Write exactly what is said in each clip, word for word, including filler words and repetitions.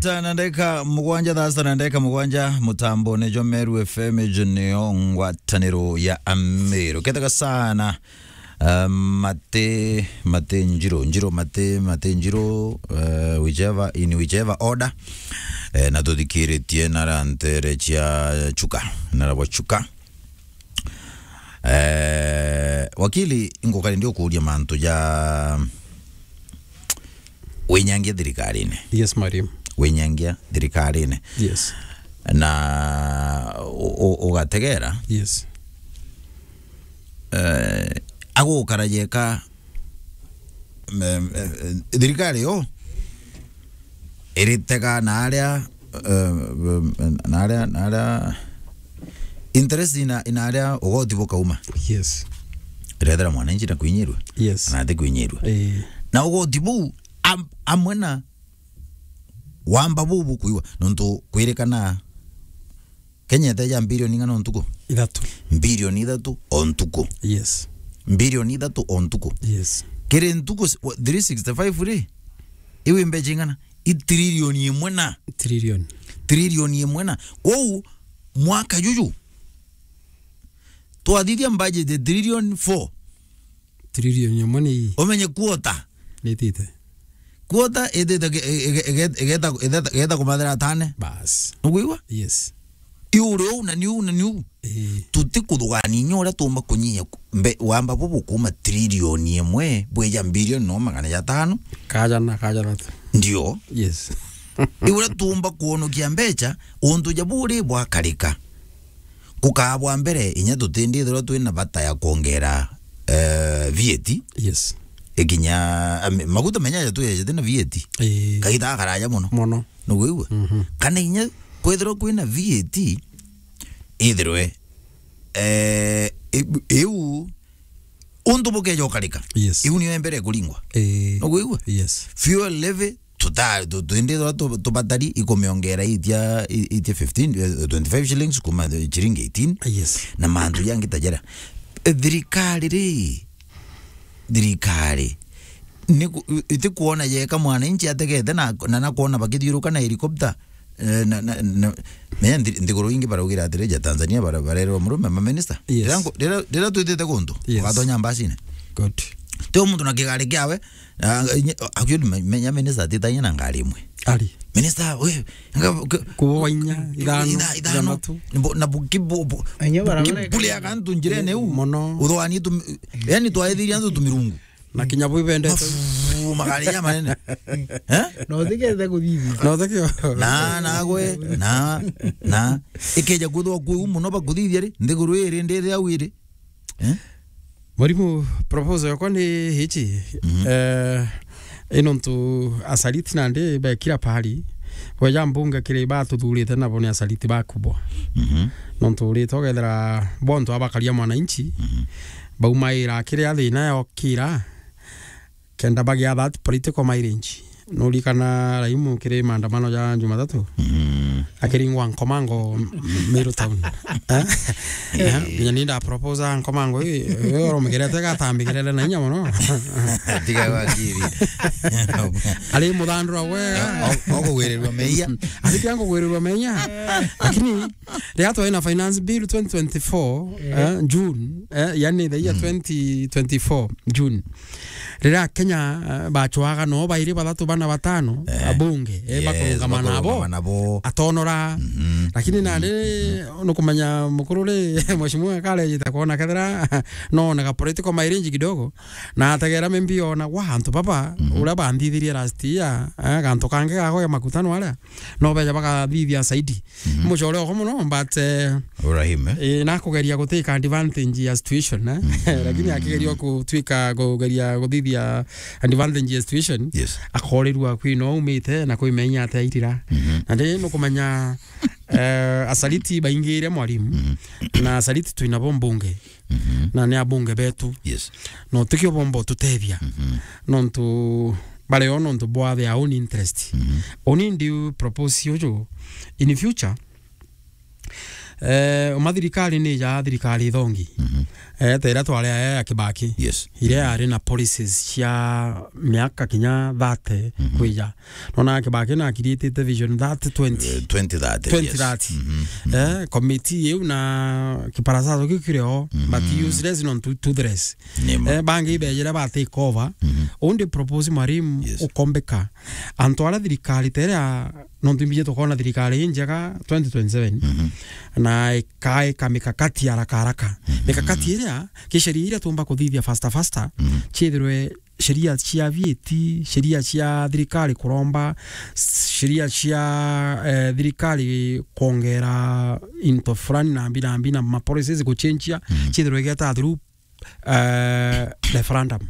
Tana ndeka mugwanja, thaa sita na ndeka mugwanja, mutambo ni jwa Meru F M, ijo niyo ngwataniro ya Ameru. Kethaga sana, eh, mate, mate njiro, njiro mate, mate njiro, eh, whichever, in whichever order. Eh, na tuthikiritie na rantere cia Chuka, na rabo Chuka. Eh, wakili, ingukari ndi ukuria mantu ja winyangia thirikarine. Yes, mwalimu. Winyangia thirikarine. Yes. Na u-, u-, ugategera. Yes. Eh, agukara yeka, em, em, em, thirikari yo iritega na aria, eh, em, na aria, na aria interest ina, ina aria ugoti bukauma. Yes. Irethera mwananchi na kwinyirwa. Yes. Na ati kwinyirwa. Eh. Na ugoti buu am-, amwe na wamba buu bukuigwa, nontu kwirikana Kenya iteja mbirioni ing'ana o ntuku? Ithatu. Mbirioni ithatu o ntuku. Yes. Mbirioni ithatu o ntuku. Yes. Kiri ntuku s-, wa-, three sixty-five ri? Iu i mbecha ing'ana? I trilioni imwe na. Trilioni. Trilioni imwe na. Kwou, mwaka juju, twathithia budget ya trilioni four. Trilioni imwe ni ii. Umenye quarter. Nitite. Quarter itite ge-, ige-, ige-, igeta, igeta, igeta kumathira atane. Bas. Nukwigua? Yes. Iu uri uu na niu na niu. Ii. Tutikuthugania inya uria tuumba kunyihia ku-, mbe-, wamba bubu kuuma trilioni imwe bwija mbirioni no magana jatano. Kaja na, kaja na tu. Ndio. Yes. Iu uria tuumba kwonokia mbecha, untu ja buri bwakarika. Kukaa bwa mbere, inya tutindithirwa twina bata ya kwongera, eh, V A T. Yes. Ikinya, am-, maguta menya ja twejete na V A T. Ii. Kaita karaja muno. Muno. Nukwigua? Mhm. Kana inya kwithirwa kwina V A T, ithirwe, eh, i-, iu untu bukeja ukarika. Yes. Iu niyo mbere kuringwa. Ii. Nukwigua? Yes. Fuel levy, tuta-, tu-, twindi twa tu-, tubatari ikumiongera itia, i-, itia fifteen, eh, twenty-five shillings kuma the chiringi eighteen. Yes. Na mantu jangi ta jaria. Eh, thirikari ri, thirikari, ni ku-, i-, itikuona yeka mwananchi ategete na, na, na kuona bakithiuruka na helicopter, eh, na, na, na, menya nthi-, nthiguru ingi baraugira atiri, ja Tanzania bara-, barerwa murume, maminista. Yes. Riria nku-, riria, riria twitite kuntu, yes, ugatonya mbacine. Good. Ti o muntu na kigari kiawe, Ah, nye-, actually, me-, menya minister atitagia na ngari imwe. Ari. Minister, we, nga-, ke-, Kuwa inya, ithano, itha-, ithano. Ithanthatu. Ni bo-, na bu-, ki-, bu-, bu-, Enya bu-, barabara ki-, eka- buria kantu njirene u. Mono. Uthwani tu, yani, twaithiria antu tumirungu. Na kinya bu ibendete. Mafu, magari ya manene. Eh? Na utikete kuthithia. Na utikio. Na, na gwe, na, na. Ikeja kwithwa kwi u muno bakuthithia ri, nthiguru iri, ndiri au iri. Eh? Mwarimu, proposal yakwa ni ici. Mhm. Eh, i nontu asaliti nandi be kila pahali. Bweja mbunge kiri batuthurite nabo ni asaliti bakubwa. Mhm. Nontu urite ugethira bontu abakaria mwananchi, mhm, baumaira kiria thina yokira, kenda bagia that political mileage. Nurikana Raimu kiri maandamano ja Jumatatu? Mm. Akiringwa Nkomango, Meru Town. Eh? Eh? Eh, nginya ni nda propose Nkomango, eh, eh, oromegerete gatambigirere na inya mono. Tiga wakiri. Ari muthandura wega. O-, o-, okugwirirwa meia. Ari kia ngugwirirwa meia. Lakini, riria twaina finance bill twenty twenty-four, eh, June, eh, yani the year twenty twenty-four, June. Riria Kenya, eh, bachwaga no bairi bathatu bana batano, eh, abunge, eh, yes, bakurungama nabo, bakurungama nabo. Atonora. Mhm. Lakini nandi, mhm, nukumenya mukuru ri, mheshimiwa karejita kwona kethira, no, na ka political mileage kidogo, na ategera maybe ona gwa antu baba, mhm, uria banthithirie last year, eh, gantu kangi gago ya makutano aria, no beja bakathithia saidi. Mhm. Mucore oko muno, but, eh, Ibrahim, eh? Eh, nakugeria gutwika advantage ya situation, eh? Mhm. Lakini akigeria kutwika, kugeria guthithia advantage ya situation, yes, akorirua kwi no aumite na kwimenya ate aitira. Mhm. Na ndi nukumenya, eh, asaliti baingire mwarimu, mhm, na asaliti twinabo mbunge. Mhm. Na ni abunge betu. Yes. No tikio bomba ututethia. Mhm. Nontu bareo nontu bwa their own interest. Mhm. Uni ndi propose uju, in future, Eh, uma thirikari ni ja thirikari thongi. Mhm. Eh, ta iria twari aya ya Kibaki. Yes. Iria yari na policies cia miaka kinya thirty Mhm. kwija. Nona Kibaki na akiriitite vision thirty twenty. Eh, twenty thirty, yes. Twenty thirty. Mhm. Eh, committee iu na kiparasato kiu kiri o, but Mhm. useless nontu toothless. Ni ma. Eh, bangi ibejire ba take over. Mhm. Undi propose Mwalimu Yes. ukombeka. Antu aria thirikari teria, nontu imbiji tukona thirikari injega twenty twenty-seven. Mhm. Na ikaika mikakati haraka haraka. Mhm. Mikakati iria, kisheria iria tumba kuthithia faster faster, Mhm. ciithirwe sheria cia V A T, sheria cia thirikari kuromba, sheria cia, eh, thirikari kuongera into fulani na mbi na mbi na ma policies guchenjia, Mhm. ciithirwe igeta through, eh, referendum.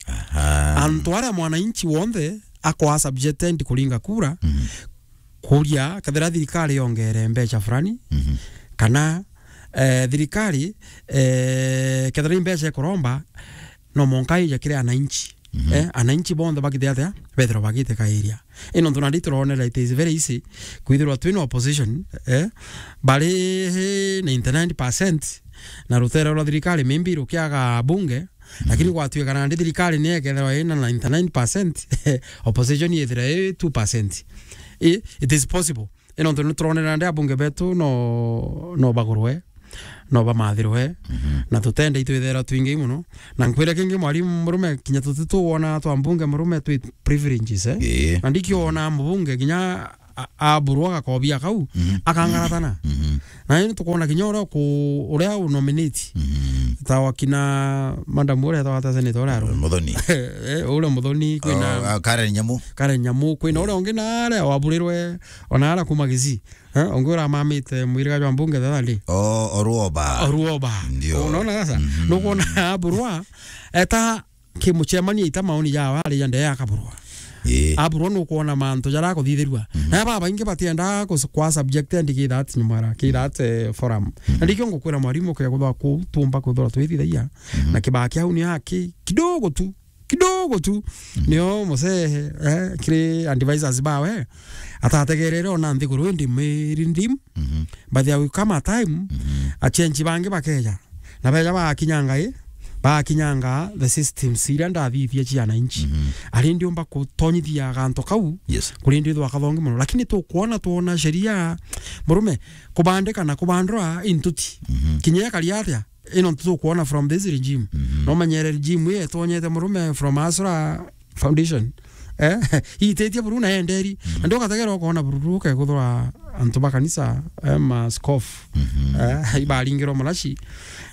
Aha. Antu aria mwananchi wonthe akwa subjected kuringa kura, Mhm. kuria kethira thirikari yongere mbecha fulani, Mhm. kana, eh, thirikari, eh, kethira i mbecha ikuromba, no monka ija kiri ananchi. Mhm. Eh, ananchi bonthe bagite atia? Bethirwa bagite kairia. Ino ntu nandi turonera it is very easy kwithirwa twina opposition, eh, bari ninety-nine percent na rutere rwa thirikari maybe rukiaga bunge, lakini Mhm. gwatuika nandi thirikari ni ekethirwa ina ninety-nine percent, opposition yethira i two percent. I, it is possible. Ino ntu nituronera nandi abunge betu no, no bagurwe, no bamathirwe, Mhm. na tutende itwithera twingi mono. Na nkwire kingi, Mwalimu Murume, kinya tutituwona twa mbunge Murume twi privileges, eh? Ii. Na ndikiona mbunge kinya a-, aburwa gakobia kau, Mhm. akangaratana. Mhm. Na indi tukona kinya uria ku-, uria u nominate. Mhm. Ta wakina madam uria etagwa ta senator uria aru. Muthoni. Eh, uria Muthoni, kwina Oh, ah, Karen Nyamu. Karen Nyamu, kwina uria ungi na aria waburirwe, ona aria kuma Kisii. Eh, ungi uria amamite mwiriga jwa mbunge the other day. Oh, Oruoba. Oruoba. Ndio. Unaona sasa? Mhm. Nukwona aburwa, eta kimucemania ita maoni jawe ari ja ndee akaburwa. Ii. Aburwa nukwona mantu jaria akuthithirua. Mhm. Na babaingi batiendaa kus-, kwa subject and ki that nyumara, ki that, eh, forum. Mhm. Na ndikio ngukwira Mwalimu, kea kuthwa ku tumba kwithirwa twithithagia. Mhm. Na Kibaki au ni aki kidogo tu, kidogo tu. Mhm. Nio musehe, eh, kiri advisors bawe. Atategerere ona nthiguru indi miri ndim. Mhm. But there will come a time, Mhm. achenji bangi bakeja. Na beja bakinyanga i, bakinyanga the systems iria ndathithia cia ananchi. Mhm. Ari ndiumba kutonyithia ganto kau, Yes. kuri ndi thwa kathongi mono. Lakini tukwona, twona sheria, Murume, kubandika na kubandura intuti. Mhm. Kinya ekari atia, ino tukwona from this regime. Mhm. No manyere regime ii etonyete, Murume, from Asra Foundation. Eh, itetie buru na enderi. Mhm. Na ndio ugategera ukona buru uke kuthura antu ba kanisa, eh, ma askofu. Mhm. Eh, ibaringirwo marashi.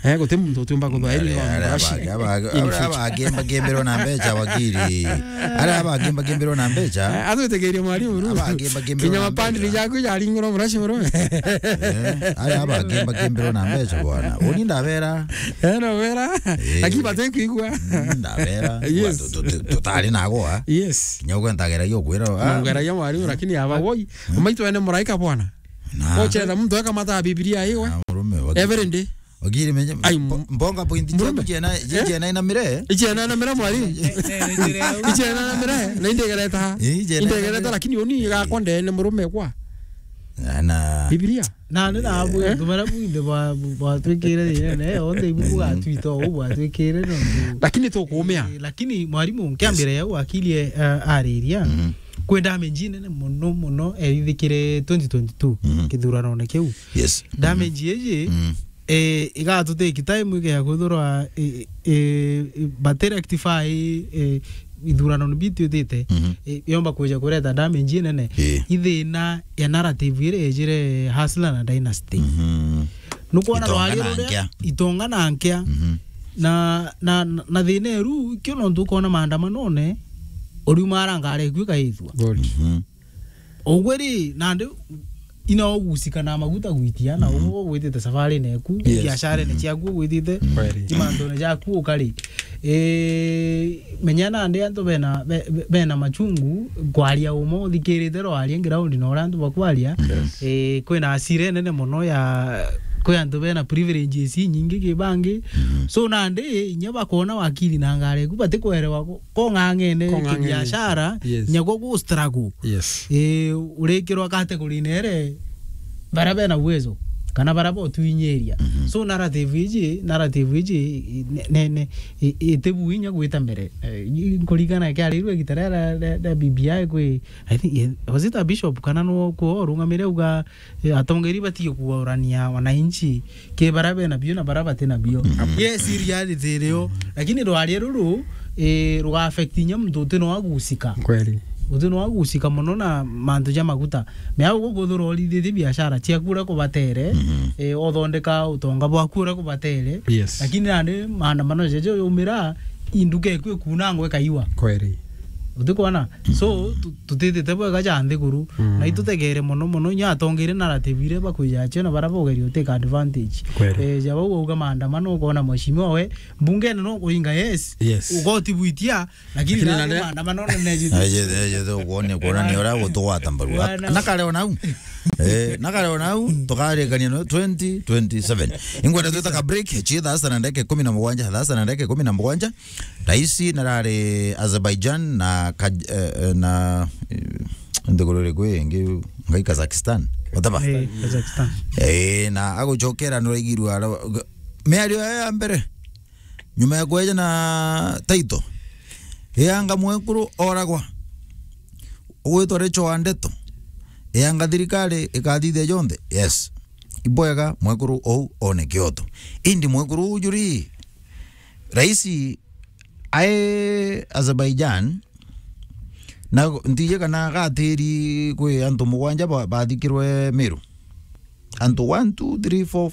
Eh, guti muntu utiumba kuthura Aria, iri aria marashi. Abagi, abagi, In aria future. Abagi mbagimbirwo na mbecha, wakiri. Aria abagi mbagimbirwo na mbecha. Eh, atwitikirie Mwalimu buru. Abagi mbagimbirwo Kinya na mapandiri mbecha. Jaku jaringirwo marashi buru. Eh, aria abagi mbagimbirwo na mbecha bwana. Uni ndabera. Eh, no wera. Eh. Lakini batikwigua. Mm, ndabera. Yes. Wa, tu, tu, tu, tutari nago, ah. Yes. Kinya ugwe ntageragia ukwira, ah. Ntageragia Mwalimu, lakini aba woi. Mm. Umaitu ene muraika bwana. Na. Ochetha muntu akamata Biblia iwe. Na murume, waki-, every day. Wakiri menye, ai, mbo-, mbonga point Murume. Jena, eh? Jena ina mire. Ijena ina mire, Mwalimu. Ijena ina mire. Na indegereta. Eh, ijena ina mire. Indegereta, lakini uni gakwa ndene murume kwa. Na, na. Biblia. Na ni na abu, eh? Antu baria buinthe bwa-, bwatwikire thina, ne, onthe ibu Mhm. bwatwita uu bwatwikire nontu. Lakini tukumia. Eh, lakini Mwalimu, nkiambire Yes. yau akili, eh, ariria, Mhm. kwi damage inene mono, mono, erithikire twenty twenty-two, Mhm. kithuranone kiu. Yes. Damage Mhm. iji, Mhm. eh, igatutake time igea kwithirwa, eh, eh, bati rectify, eh, ithurano ni bitu itite, Mhm. i-, yomba kwija kureta damage inene. Ii. Ithina ya narrative iria ejire Hustler na Dynasty. Mhm. Nukwona Itonga rwari na ruria nkia. Itonga na nkia. Mhm. Na, na, na, na thina eru, kio nontu ukona maandamanone, uriuma ara ngari iku ikaithua. Good. Mhm. Ugwe ri, nandi ina ugusika na maguta gwitia, na Mhm. ugwe ugwitite safarine eku, Yes. biasharene Mhm. ciaku ugwitite, Kweli. imantune jaku ukari. Eh, menya nandi antu bena, be-, be-, bena machungu, kwaria uma uthikirite rwaria ground na uria antu bakwaria. Yes. Eh, kwina asira enene mono ya, kwi antu bena privileges inyingi ki bangi. Mhm. So nandi, inya bakona wakiri na ngari eku, batikwerewa ko-, kong'ang'ene Kong'ang'ene. Kibiashara, Yes. nyagwa gu struggle. Yes. Eh, urikirwa category nere, bara bena uwezo. kana bara botwinyiria. Mhm. So narrative iji, narrative iji, i-, ne, ne, ne, i-, itibu inya gwita mbere. Eh, i-, nkuringana kiarirwe igita ria, ria, ria B B I kwi, I think, eh, was it a bishop kana no kwo urungamire uga, eh, atongeri batige kuorania wananchi ke bara bena bio na bara batina bio. Mhm. Yes, i reality irio, lakini rwaria ruru, eh, ruga affect inya muntu uti no agusika. Kweli. Uti no agusika mono na mantu ja maguta. Mea ugu kwithirwa urithitie biashara ciaku uria kubatere, mhm, eh, othondeka utonga bwaku uria kubatere. Yes. Lakini nandi maandamano jajo yumira, induka eku ikunangwa ikaiwa. Kweli. Utikwona? So, tu-, tutitite bwega ja nthiguru. Mm. Na itutegere mono mono, inya atongeire narrative iria bakwija cio na bara bogeria uteka advantage. Kweli. Eh, ja bau uga maandamano, ukona mheshimiwa we, mbungene no kuinga, yes. Yes. Ugoti bwitia, lakini lakini na nare- maandamano ne neji. Eje, eje, to kuonia, kuonania uria gutugwata mbaru. Bwana. Na kare ona au. Eh, na kare ona au, tukarikania no twenty twenty-seven. Ingwenda twita ka break, chi thaa sita na ndagika ikumi na mugwanja, thaa sita na ndagika ikumi na mugwanja. Raisi narari Azerbaijan na Kaj-, eh, eh, na, eh, nthiguru iriku ingi, ngai Kazakhstan. Whatever. Eh, Kazakhstan. Eh, na agucokera nuraigirua ara-, miario ya, ya mbere. Nyuma ya kweja na title, eanga mwekuru oragwa, ugwitwa Rachel wa Ndeto, eanga thirikari ikathithia jonthe. Yes. Ibwega mwekuru ou one kioto. Indi mwekuru uju ri, raisi ae Azerbaijan, na ntiji kana agatiri kwi antu mugwanja ba-, bathikirwe Meru. Antu one, two, three, four,